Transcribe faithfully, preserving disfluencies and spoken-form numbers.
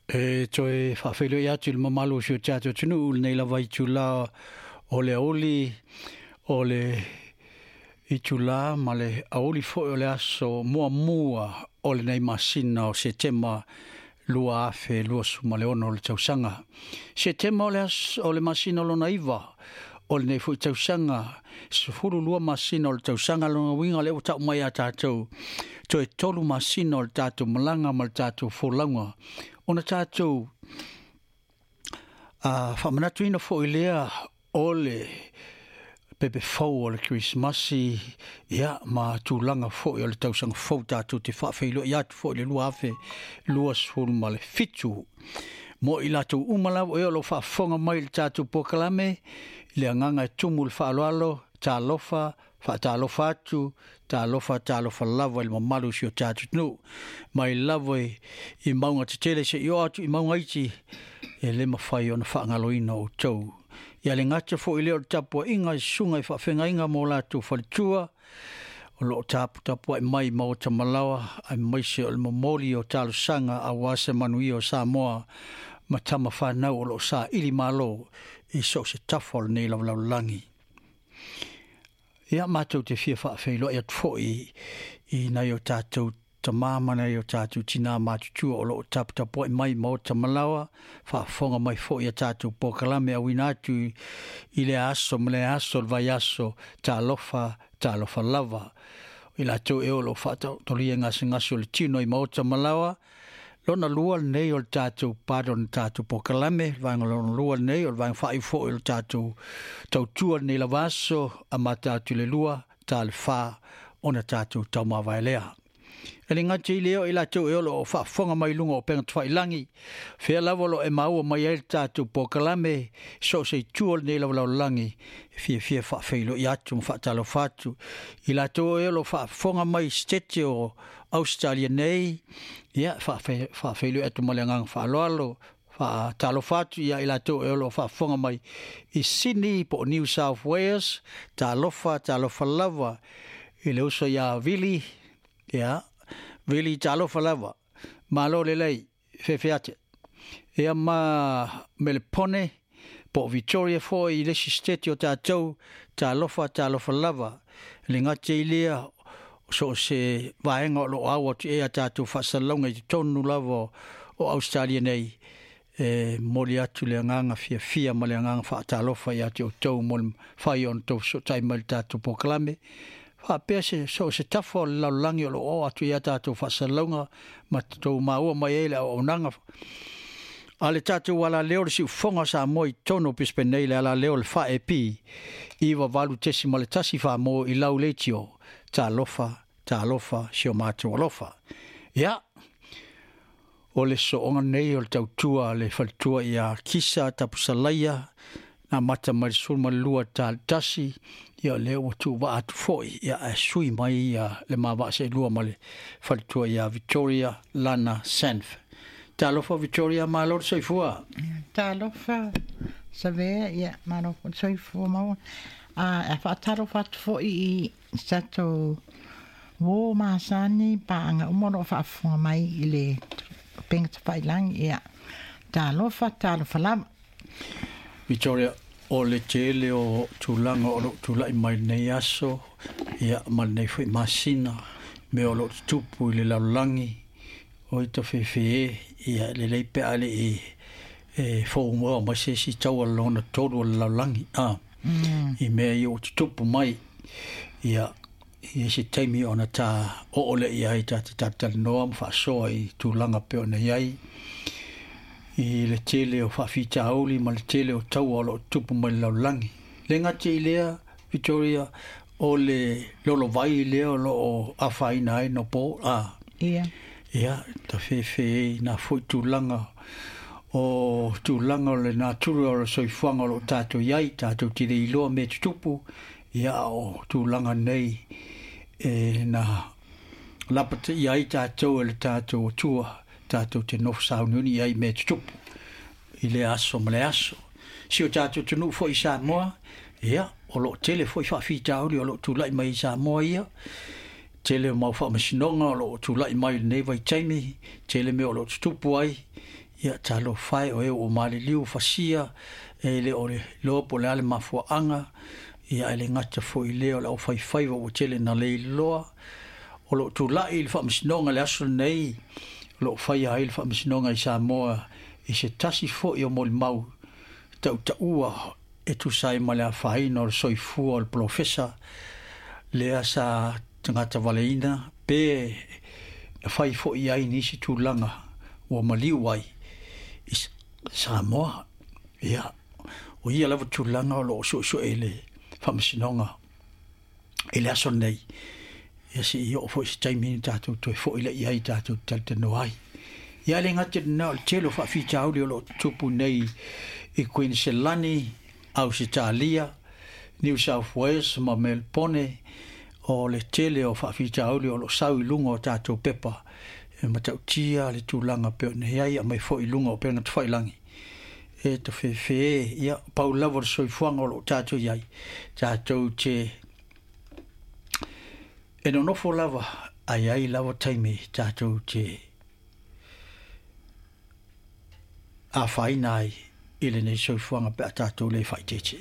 E toe faafeiloai atu i le mamalu o si o tatou atunuu lenei lava itulā o le aoauli o le itulā ma le aoauli foi o le aso muamua o lenei masina o Setema lua afe luasefulu ma le ono o le tausaga. Setema o le aso o le masina lona iva o lenei foi tausaga, sefulu lua masina o le tausaga. Lona uiga lea ua tau mai ia tatou toe tolu masina o le tatou malaga ma le tatou folauga ona tatou uh, faamanatuina foi lea o le pepe fou o le Kerisimasi, ia ma tulaga foi o le tausaga fou tatou te faafeiloai atu foi le lua afe luasefulu ma le fitu. Mo i latou uma lava ea o lo o faafofoga mai i le tatou polokalame, i le agaga e tumu le faaaloalo, talofa, faatalofa atu, talofa, talofa lava i le mamalu o si o tatou atunuu. Mai lava i mauga tetele seia oo atu i mauga iti, e le mafai ona faagaloina outou. Ia le gata foi lea o le tapuaiga i susuga i faafeagaiga ma o latou faletua, o lo o taputapuai mai maota malaoa, aemaise o le momoli o talosaga aua se manuia o Samoa ma tama fanau o lo o saili malo i so o se tafa o lenei lalolagi. Ia matou te fia faafeiloai atu foi i nai o tatou tamā ma nai o tatou tinā matutua o lo o taputapuai mai maota malaoa, faafofoga mai foi ia tatou polokalame auina atu i lea aso ma lea aso o le vaiaso. Talofa, talofa lava. I latou ea o lo o faataotolia gasegase o le tino i maota malaoa. Lona lua lenei o le tatou part o le tatou polokalame, le vaega lona lua lenei o le vaega faaiu foi o le tatou tautua lenei lava aso, amata atu i le lua, ta le fa, ona tatou taumavae lea. E le gata i lea o i latou e o lo o faafofoga mai luga o upega tafailagi, fea lava o lo o e maua mai ai le tatou polokalame, so o se itu o lenei lalolagi, e fiafia faafeiloai atu ma faatalofa atu. I latou e o lo o faafofoga mai i Setete o Ausetalia nei, ia faafeiloai atu ma le agaga faaaloalo, faatalofa atu ia i latou e o lo o faafofoga mai i Sydney po o New South Wales, talofa, talofa lava i le uso ia Vili, ia Vili talofa lava, malo lelei, fefe ate. Ia ma Melepone po o Victoria foi i le isi state o tatou, talofa, talofa lava. Le gata i lea, so o se vaega o lo o au atu e a tatou faasalalauga i totonu lava o Australia nei, e momoli atu le agaga fiafia ma le agaga faatalofa ia te outou mo le mafai ona outou fesootai mai i le tatou polokalame. Faapea se so o se tafa o le lalolagi o lo o oo atu i a tatou faasalalauga ma tou maua mai ai le auaunaga a le tatou alaleo le siufofoga o Samoa i totonu o Brisbane nei, le alaleo le fa E P iva valu tesi ma le tasi faa-mo i lau leitio. Talofa, talofa, si o matou alofa. Ia, o le sooga nei o le tautua le faletua ia Kisa Tapusalaia, na amata mai le sefulu ma le lua ta le tasi, ia lea ua tuuvaa atu foi, ia ae sui mai ia le ma vaa seelua ma le faletua ia Victoria Lana Sanf. Talofa Victoria, malo le soifua. Talofa, Savea, ia, malo foi le soifua maua. A, e faatalofa atu foi i tatou uō masani paaga uma o lo o faafofoga mai i le upega tafailagi. Ia, talofa, talofa lava. Victoria, o le tele o tulaga o lo o tulai mai lenei aso, ia ma lenei foi masina, mea o lo o tutupu i le lalolagi, o i tafefe e, ia lelei pe a le e fou moa mai se isi taua lona tolu o le lalolagi. Ah, Mm. i mea ia o tutupu mai, ia i se taimi ona ta oo le i ai ta te talatalanoa ma faasoa i tulaga pei ona i ai i le tele o faafitauli ma le tele o taua o lo o tupu mai le lalolagi. Le gata i lea, Victoria, o le lolovai lea o lo o afaina ai no po a Ia. ia tafefe e nā foi tulaga o tulaga o le natura o le soifuaga o lo o tatou i ai, tatou te le iloa mea tutupu, ia o tulaga nei e na lapataia ai tatou e le tatou Atua, tatou te nofo sauniuni i ai mea tutupu i le aso ma le aso. Si o tatou atunuu foi i Samoa, ia, o lo o tele foi faafitauli o lo o tulai mai i Samoa ia, tele o mau faamasinoga o lo o tulai mai i lenei vaitaimi, tele mea o lo o tutupu ai, Ia talofa e o e ua maliliu fasia e le o le iloa po o le a le mafuaaga. Ia ae le gata foi i lea o le aufaifaiva ua tele na leiloa o loo tulai i le faamasinoga le aso lenei o loo faia ai le faamasinoga i Samoa i se tasi foi o molimau tautaua e tusa ai ma le afaina o le soifua o le polofesa lea sa tagata valeina pe na fai foi ai nisi tulaga ua maliu ai i Samoa. Ia o ia lava tulaga o loo suesue i le faamasinoga i le aso lenei. Ia seia oo foi se taimi na tatou toe foi lea i ai tatou talatalanoa ai. Ia le gata i lena o le tele o faafitauli o loo tutupu nei i Kuiniselani, Ausetalia, New South Wales ma Melpone o le tele o faafitauli o loo sau i luga o tatou pepa e matautia le tulaga pei ona i ai aumai foi i luga o upega tafailagi e tafefe. Ia pau lava o le soifuaga o loo tatou i ai tatou te e nonofo lava ae ai lava taimi tatou te afaina ai i lenei soifuaga pe a tatou le faaeteete.